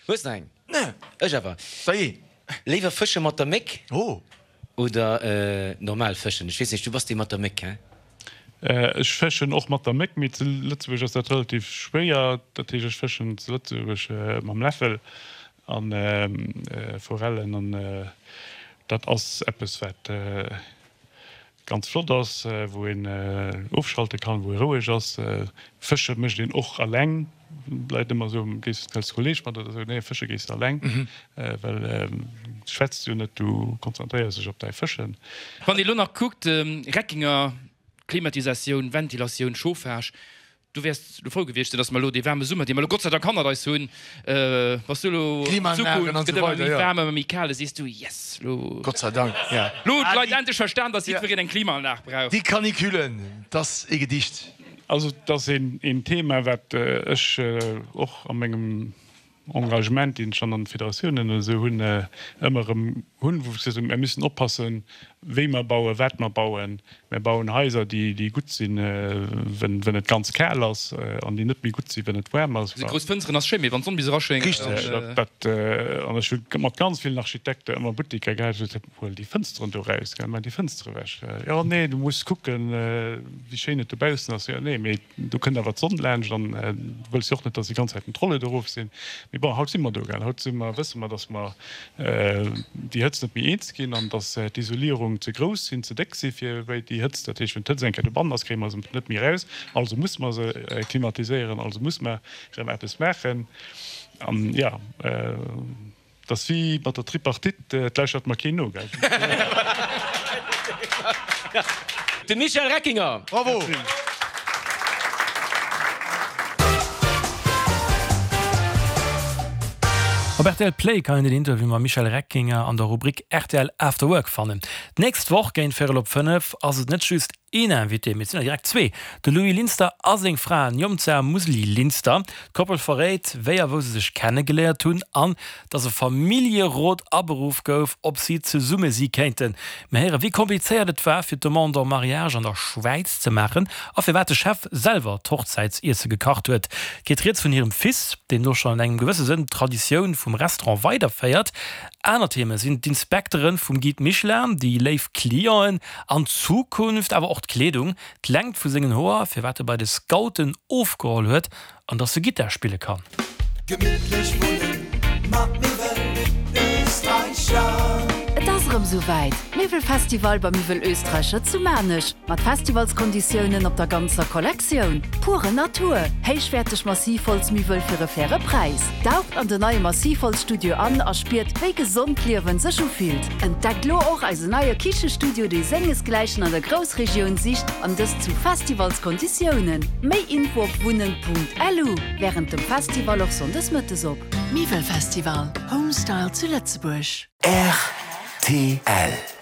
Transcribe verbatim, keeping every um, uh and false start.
Hues nach eng? Nee. Ech awer. Dajee. Léiwer fësche mat der Méck Oh. oder normal fëschen? Ech weess nicht, du bass dee mat der Méck, hä? Ech fëschen och mat der Méck, mee zu Lëtzebuerg ass dat relativ schwéier. Dat heescht, ech fëschen zu Lëtzebuerg mam Läffel an Forellen an dat ass eppes wat ganz flott ass, wou een ofschalte kann, wou ee roueg ass. Fësche mécht een och alleng. D'Leit ëmmer esou, gees du als Kolleeg mat oder esou? Nee, fësche gees de alleng, well du schwätz jo net, du konzentréiers dech op däi Fëschen. Wann ee lo nach kuckt, Reckinger, Klimatisatioun, Ventilatioun, Chauffage, du wäers lo frou gewiescht sinn, dass mer elo dee waarme Summer, dee mer elo Gott sei Dank hannert eis hunn, bass du elo an Zukunft gëtt ëmmer méi waarm, ëmmer méi kal, da sees du, yes, lo. Gott sei Dank, ja. Lo hunn d'Leit endlech verstan, dass jiddwereen eng Klimaanlag brauch. Déi Canicule, 't ass ee Gedicht. Also et ass een Thema, wat ech och a mengem Engagement, deen ech dann an de Federatiounen oder esou hunn, ëmmer erëm hunn, wou ech gesot hunn, Mir müssen oppassen, wéi mer bauen, wat mer bauen. Mir bauen Haiser, déi gutt sinn, wenn et ganz kal ass, an déi net méi gutt sinn, wenn et waarm ass. Esou grouss Fënsteren ass schéin, mee wann d'Sonn bis eraschéngt. Richteg. Dat, an ech hu mat ganz villen Architekte ëmmer Butteker gehat, wou ech gesot hunn, Huel déi Fënsteren do eraus, gell, maach déi Fënstere ewech. Jo, nee, du muss kucken, wéi schéin et dobaussen ass. Jo, nee, mee do kënnt awer d'Sonn laanscht an du wëlls jo och net, dass déi ganz Zäit den Trolle do erof sinn. Mee bon, haut si mer do, gell, haut si mer, wësse mer, dass mer déi Hëtzt net méi eens ginn an dass d'Isolierung ze grouss sinn, ze déck si fir wéi déi Hëtzt. Dat heescht, wenn d'Hëtzt eng Kéier dobannen ass, kréie mer se net méi eraus. Also musse mer se klimatiséieren, also musse mer erëm eppes maachen. An jo, et ass wéi mat der Tripartite, et lauschtert mer keen no, gell. De Michel Reckinger! Bravo! Op rtl Play kann een den Interview mam Michel Reckinger an der Rubrik rtl After Work fannen. D'nächst Woch géint véierel op fënnef ass et net just een Invité, mee et sinn der direkt zwee, de Louis Linster a seng Fra Njomza Musli-Linster. D'Koppel verréit, wéi a wou se sech kennegeléiert hunn an dass e Familljerot aberuff gouf, ob si zesumme si kéinten. Mir héieren, wéi komplizéiert et war, fir d'Demande en mariage an der Schwäiz ze maachen a firwat de Chef selwer d'Hochzäitsiesse gekacht huet. Et geet rieds vun hirem Fils, deen elo schonn an engem gewësse Sënn d'Traditioun vum Restaurant weiderféiert. Aner Theme sinn d'Inspektere vum Guide Michelin, déi léif Clienten an d'Zukunft, awer och d'Kleedung, d'Längt vu sengen Hoer, firwat e bei de Scouten ofgeholl huet an dass e Gittar spille kann. Gemittlech wunnen mat Miwwel Österreicher. Et ass erëm sou wäit, Miwwelfestival bei Miwwel Österreicher zu Maarnech, mat Festivalskonditiounen op der ganzer Kollektioun. Pure Natur, héichwäerteg Massivholzmiwwel fir e faire Präis. Daucht an den neie Massivholzstudio an a spiert, wéi gesond d'Liewen sech ufillt. Entdeckt lo och eisen neie Kichestudio, dee sengesgläichen an der Groussregioun sicht, an dëst zu Festivalskonditiounen. Méi Info op wunnen.lu. Wärend dem Festival och sonndes mëttes op. Miwwelfestival, Home Style zu Lëtzebuerg. Rtl.